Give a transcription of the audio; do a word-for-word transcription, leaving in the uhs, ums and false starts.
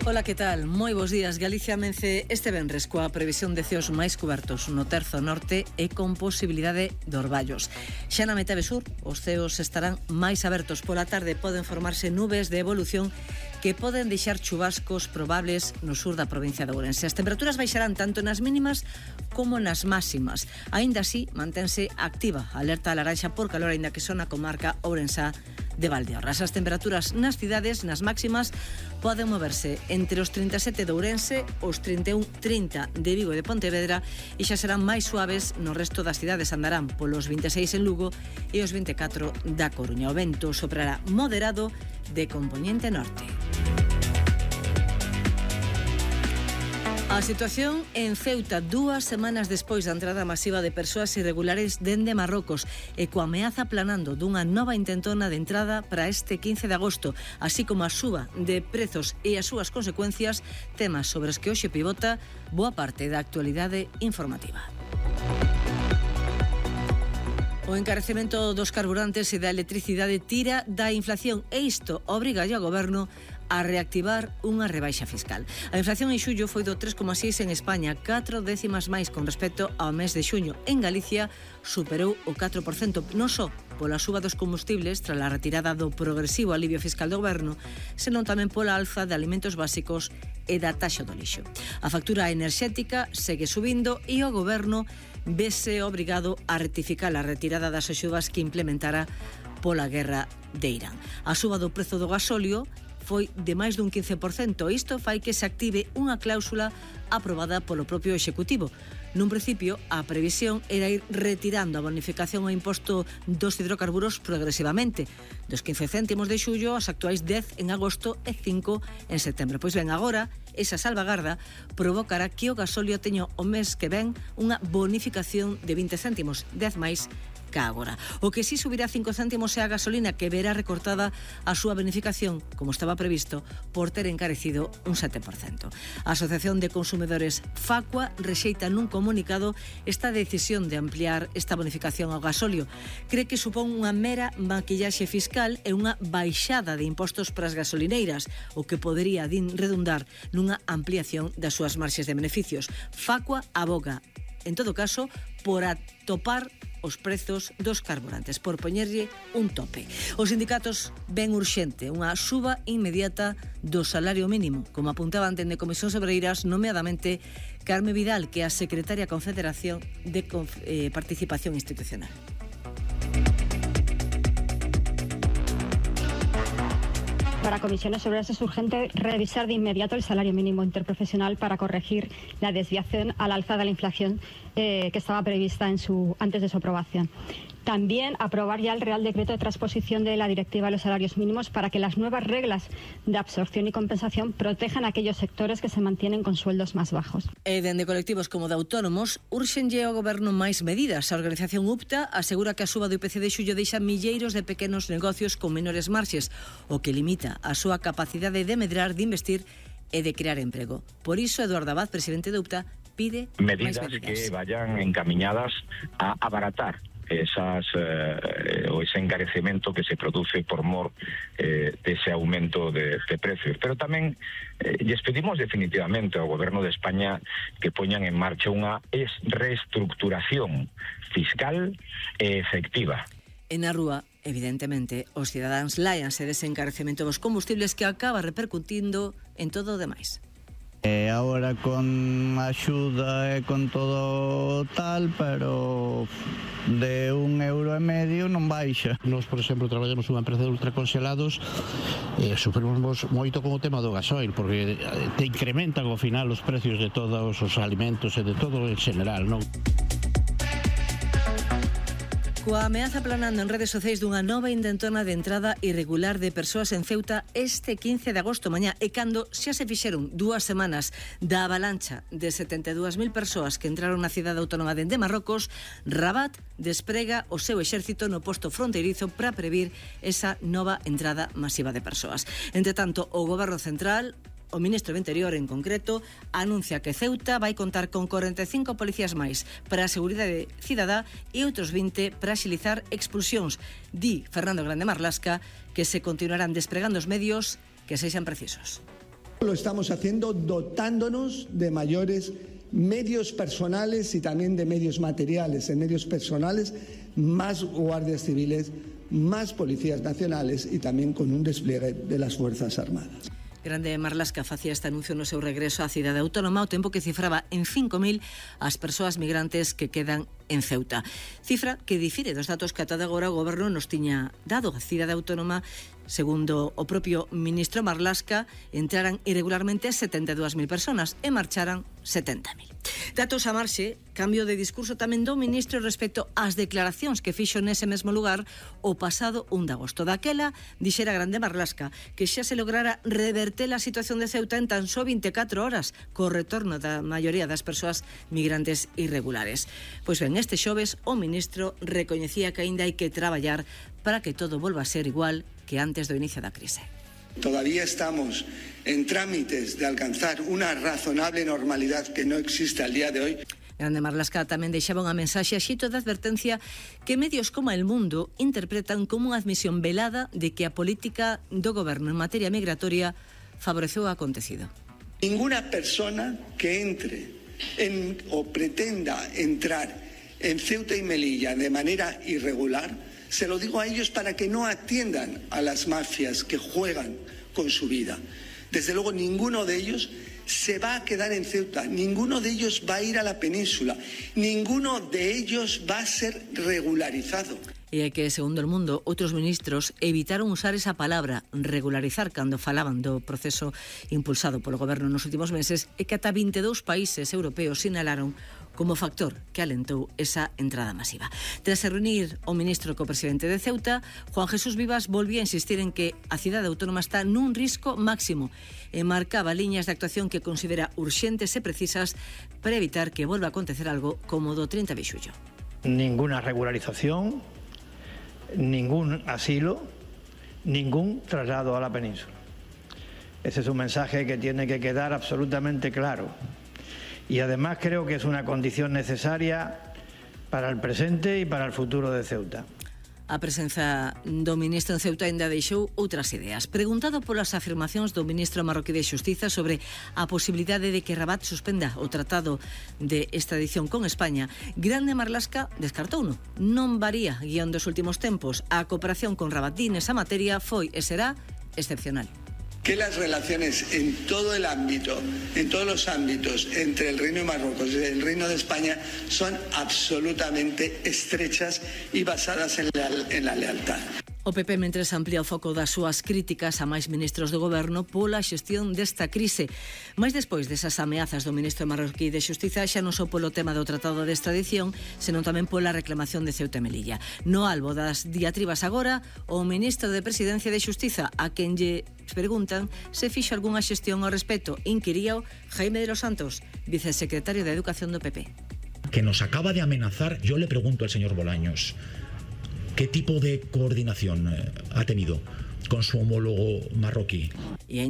Ola, que tal? Moi bons días. Galicia amence este venres coa previsión de ceos máis cubertos no terzo norte e con posibilidade de orballos. Xa na metade sur, os ceos estarán máis abertos. Pola tarde poden formarse nubes de evolución que poden deixar chubascos probables no sur da provincia de Ourense. As temperaturas baixarán tanto nas mínimas como nas máximas. Aínda así, mantense activa a alerta laranxa por calor, aínda que son a comarca ourensá de Valdeorras. As temperaturas nas cidades, nas máximas, poden moverse entre os trinta e sete de Ourense, os trinta e un trinta de Vigo e de Pontevedra, e xa serán máis suaves no resto das cidades. Andarán polos vinte e seis en Lugo e os vinte e catro da Coruña. O vento soprará moderado de compoñente norte. A situación en Ceuta dúas semanas despois da entrada masiva de persoas irregulares dende Marrocos e coa ameaza planando dunha nova intentona de entrada para este quince de agosto, así como a suba de prezos e as súas consecuencias, temas sobre os que hoxe pivota boa parte da actualidade informativa. O encarecemento dos carburantes e da electricidade tira da inflación e isto obriga ao goberno a reactivar unha rebaixa fiscal. A inflación en xullo foi do tres coma seis en España, catro décimas máis con respecto ao mes de xuño. En Galicia superou o catro por cento, non só pola suba dos combustibles tras a retirada do progresivo alivio fiscal do goberno, senón tamén pola alza de alimentos básicos e da taxa do lixo. A factura enerxética segue subindo e o goberno vese obrigado a rectificar a retirada das axudas que implementara pola guerra de Irán. A suba do prezo do gasóleo foi de máis dun quince por cento. Isto fai que se active unha cláusula aprobada polo propio Executivo. Nun principio, a previsión era ir retirando a bonificación ao imposto dos hidrocarburos progresivamente. Dos quince céntimos de xullo, as actuais dez en agosto e cinco en setembro. Pois ben, agora, esa salvagarda provocará que o gasóleo teña o mes que ven unha bonificación de vinte céntimos, dez máis que agora. O que si subirá cinco céntimos é a gasolina, que verá recortada a súa bonificación, como estaba previsto, por ter encarecido un sete por cento. A Asociación de Consumidores Facua rexeita nun comunicado esta decisión de ampliar esta bonificación ao gasóleo. Cree que supón unha mera maquillaxe fiscal e unha baixada de impostos para as gasolineiras, o que podería redundar nunha ampliación das súas marxes de beneficios. Facua aboga, en todo caso, por atopar os prezos dos carburantes, por poñerlle un tope. Os sindicatos ven urxente unha suba inmediata do salario mínimo, como apuntaban dende Comisións Obreiras, nomeadamente Carme Vidal, que é a secretaria da Confederación de eh, Participación Institucional. Para Comisiones Obreras es urgente revisar de inmediato el salario mínimo interprofesional para corregir la desviación al alza de la inflación eh, que estaba prevista en su, antes de su aprobación. También aprobar ya el Real Decreto de transposición de la Directiva de los Salarios Mínimos para que las nuevas reglas de absorción y compensación protejan a aquellos sectores que se mantienen con sueldos más bajos. E dende colectivos como de autónomos, urxenlle ao goberno máis medidas. A organización U P T A asegura que a suba do I P C de xullo deixa milleiros de pequenos negocios con menores marxes, o que limita a súa capacidade de medrar, de investir e de crear emprego. Por iso, Eduardo Abad, presidente de U P T A, pide medidas, máis medidas que vayan encaminadas a abaratar esas eh, o ese encarecemento que se produce por mor eh, dese aumento de, de precios. Pero tamén eh, lles pedimos definitivamente ao Goberno de España que poñan en marcha unha reestructuración fiscal e efectiva. En a rúa, evidentemente, os cidadáns láianse dese encarecemento dos combustibles que acaba repercutindo en todo o demais. E agora con axuda e con todo tal, pero de un euro e medio non baixa. Nos, por exemplo, traballamos unha empresa de ultracongelados e sufrimos moito con o tema do gasoil, porque te incrementan ao final os precios de todos os alimentos e de todo en general, non? Coa ameaza planando en redes sociais dunha nova intentona de entrada irregular de persoas en Ceuta este quince de agosto mañá, e cando xa se fixeron dúas semanas da avalancha de setenta e dúas mil persoas que entraron na cidade autónoma de Marrocos, Rabat desprega o seu exército no posto fronteirizo para previr esa nova entrada masiva de persoas. Entre tanto, o goberno central, o ministro do Interior en concreto, anuncia que Ceuta vai contar con corenta e cinco policías máis para a seguridade cidadá e outros vinte para axilizar expulsións. Di Fernando Grande Marlasca que se continuarán despregando os medios que sexan precisos. Lo estamos haciendo dotándonos de mayores medios personales y también de medios materiales. En medios personales, más guardias civiles, más policías nacionales y también con un despliegue de las Fuerzas Armadas. Grande Marlaska facía este anuncio no seu regreso á cidade autónoma, ao tempo que cifraba en cinco mil as persoas migrantes que quedan en Ceuta. Cifra que difire dos datos que ata de agora o goberno nos tiña dado. A cidade autónoma, segundo o propio ministro Marlaska, entraran irregularmente setenta e dúas mil personas e marcharan setenta mil. Datos a marxe, cambio de discurso tamén do ministro respecto ás declaracións que fixo nese mesmo lugar o pasado un de agosto. Daquela, dixera Grande Marlaska que xa se lograra reverter a situación de Ceuta en tan só vinte e catro horas, co retorno da maioría das persoas migrantes irregulares. Pois ben, este xoves o ministro recoñecía que aínda hai que traballar para que todo volva a ser igual que antes do inicio da crise. Todavía estamos en trámites de alcanzar una razonable normalidad que no existe al día de hoy. Grande Marlaska tamén deixaba unha mensaxe a xito de advertencia que medios como El Mundo interpretan como unha admisión velada de que a política do goberno en materia migratoria favoreceu o acontecido. Ninguna persona que entre en, o pretenda entrar en Ceuta y Melilla de manera irregular, se lo digo a ellos para que no atiendan a las mafias que juegan con su vida. Desde luego, ninguno de ellos se va a quedar en Ceuta, ninguno de ellos va a ir a la península, ninguno de ellos va a ser regularizado. E é que, segundo El Mundo, outros ministros evitaron usar esa palabra regularizar cando falaban do proceso impulsado polo goberno nos últimos meses e que ata vinte e dous países europeos sinalaron como factor que alentou esa entrada masiva. Tras se reunir o ministro co presidente de Ceuta, Juan Jesús Vivas volvía a insistir en que a cidade autónoma está nun risco máximo e marcaba liñas de actuación que considera urxentes e precisas para evitar que volva a acontecer algo como do trinta de xullo. Ninguna regularización, ningún asilo, ningún traslado a la península. Ese es un mensaje que tiene que quedar absolutamente claro. Y además creo que es una condición necesaria para el presente y para el futuro de Ceuta. A presenza do ministro en Ceuta ainda deixou outras ideas. Preguntado polas afirmacións do ministro marroquí de Xustiza sobre a posibilidade de que Rabat suspenda o tratado de extradición con España, Grande Marlaska descartouno. Non varía guión dos últimos tempos. A cooperación con Rabat nesa materia foi e será excepcional. Que las relaciones en todo el ámbito, en todos los ámbitos entre el Reino de Marruecos y el Reino de España son absolutamente estrechas y basadas en la, en la lealtad. O P P mentres amplía o foco das súas críticas a máis ministros do goberno pola xestión desta crise. Mais despois desas ameazas do ministro marroquí de Xustiza xa non só polo tema do tratado de extradición, senón tamén pola reclamación de Ceuta e Melilla. No albo das diatribas agora, o ministro de Presidencia de Xustiza, a quen lle preguntan se fixo algunha xestión ao respecto, inquiríao Jaime de los Santos, vicesecretario de Educación do P P. Que nos acaba de amenazar, yo le pregunto al señor Bolaños, ¿qué tipo de coordinación ha tenido con su homólogo marroquí? Y